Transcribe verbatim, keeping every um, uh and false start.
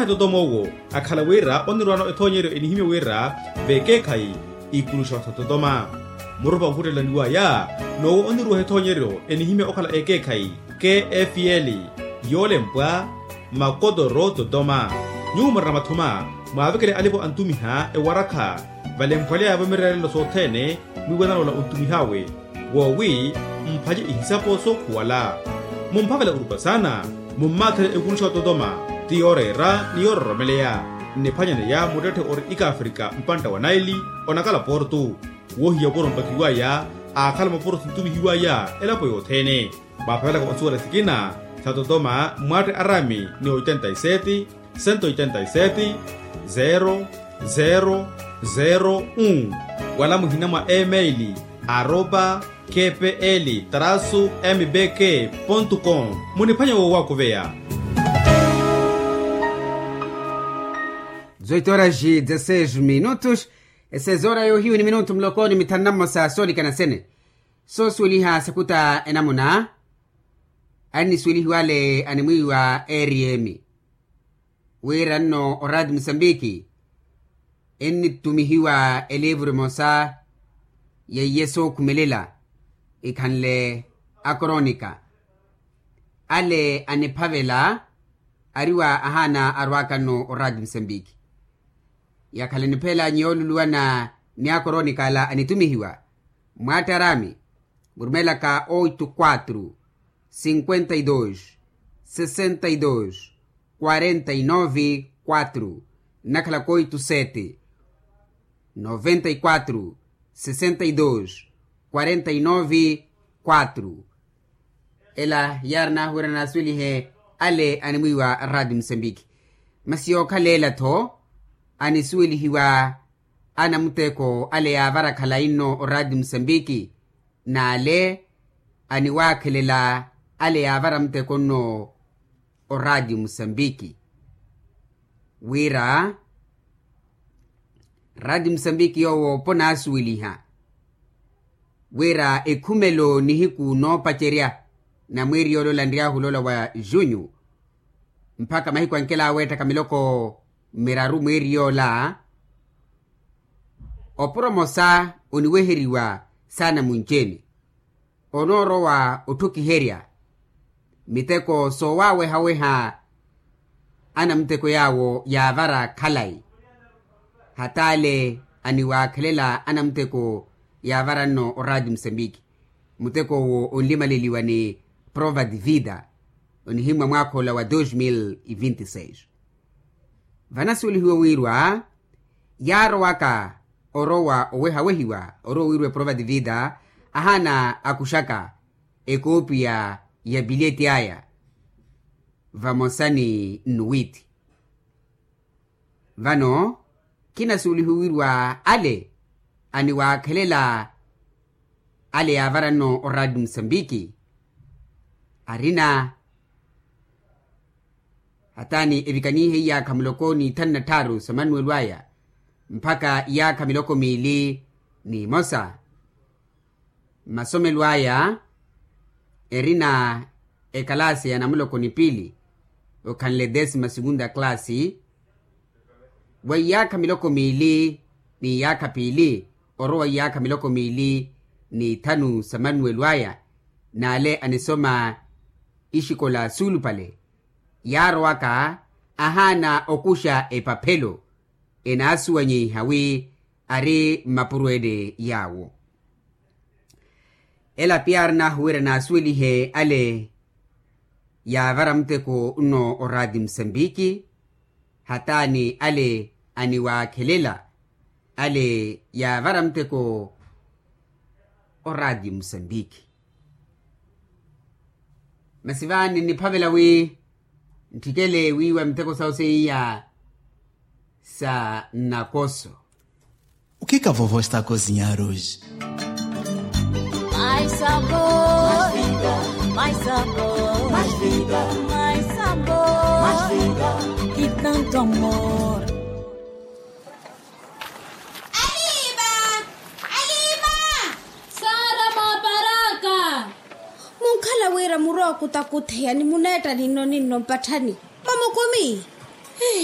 Atotoma owo akhala wira onirwano ethoonyeryo enihimya wira vekeekhayi ikuluxa ototoma. Murupa onkuttelaniwaya n'owo oniruwaha ethoonyeryo enihimya okhala ekeekhayi, kfl, yoolempwa, makotoro totoma. Nyuwo murina mathuma, mwaavekele alipo antumiha ewarakha valemphwaleya vamirerelo sothene. Mwiiwanana ola ontumih'awe woowi mphace ihisapo sookhuwala. Mumphavela orupa saana, mummaathele ekuluxa ototoma, ti yooreera ni yoororomeleya. Nniphwanyaneya muttetthe ori ikaafrika mpantta wa naili, onakala portu. Woohiya opuro mpakiwaya aakhala mopuro sintumihiwaya elapo yothene. Mwaaphavelaka onsuwela sikina sa totoma, mwatte arami ni oitenta y sete, sento oitenta y sete, zero, zero, zero un. Wala muhina mwa email, arroba kpl trasu mbk pontu com. Muniphwanya woowakuveya. Zoitoraxi dezaseix minutos. Esezora yoohiyu ni minutu muloko ni mithanu na mmosa soolikana sene. Soosuweliha sakuta enamuna, annisuwelihiwa ale animwiiwa rm, wira nno oraati musambiki ennitumihiwa elivuru emosa yeiye sookhumelela ikhanle akoronika. Ale aniphavela ariwa ahaana arwaaka nno oraati musambiki. Yakhala niphelanyi yooluluwana ni akoronika ala anitumihiwa, mwattarami murumelaka oito quatro, cinquenta y dos, sessenta y dos, quarenta y nove, quatro, nnakhalaka oito sete, noventa y quatro, sessenta y dos, quarenta y nove, quatro. Ela yaari nahuwira naasuwelihe ale animwiiwa raati musambiki. Masi yookhala ela-tho anisuwelihiwa anamuteko ale yaavara khalayi nno oraati musambiki, n'ale aniwaakhelela ale yaavara muteko nno oraati musambiki. Wira raati musambiki yoowo ponaasuweliha wira ekhumelo nihiku noopacerya na mweeri yoola ola nryaahu loola wa junyu mpakha mahiku ankela aweettaka miloko miraru mweeri yoola. Opuro mosa oniweheriwa saana munci-ene onoorowa otthokiherya miteko soowawehaweha anamuteko yaawo yaavara khalayi. Hata ale aniwaakhelela anamuteko yaavara nno oraati musambiki. Muteko owo onlimaleliwa ni prova de vida onihimmwa mwaakha ola wa dos mil e vinte e seis. Vanasuwelihiwa wiirwa yaarowaka orowa owehawehiwa orowa wiirwa eprova de vida ahaana akuxaka ekoopiya ya pilyeti aya vamosa ni nnuwiithi. Vano khinasuwelihiwa wiirwa ale aniwaakhelela ale yaavara nno oraati musambiki arina hataani evikanihe iyaakha miloko ni ithanu na tthaaru sa manuwelo aya mpakha iyaakha miloko miili ni imosa. Mmasomelo aya erina ekalaasi ya namuloko ni piili okhanle desima segunda kalaasi. Wa iyaakha miloko miili ni iyaakha piili orowa iyaakha miloko miili ni ithanu sa manuwelo aya n'ale anisoma ixikola suulupale yaarowaka ahaana okuxa epaphelo enaasuwanyiha wi ari mmapuro ene yaawo. Ela pia ari nahuwira naasuwelihe ale yaavara muteko nno oraati musambiki hataani ale aniwaakhelela ale yaavara muteko oraati musambiki. Masi vaani nniphavela wi ntthikele wiiwa miteko sawo seiya sa nnakoso. O que que a vovó está a cozinhar hoje? Mais sabor, mais sabor, mais vida, mais sabor, mais vida, e tanto amor. Aliva! Aliva! Sara maparaka. Munkhala wira murwa okutakutheya ni muneetta ninno ninno mpatthani mamukumi.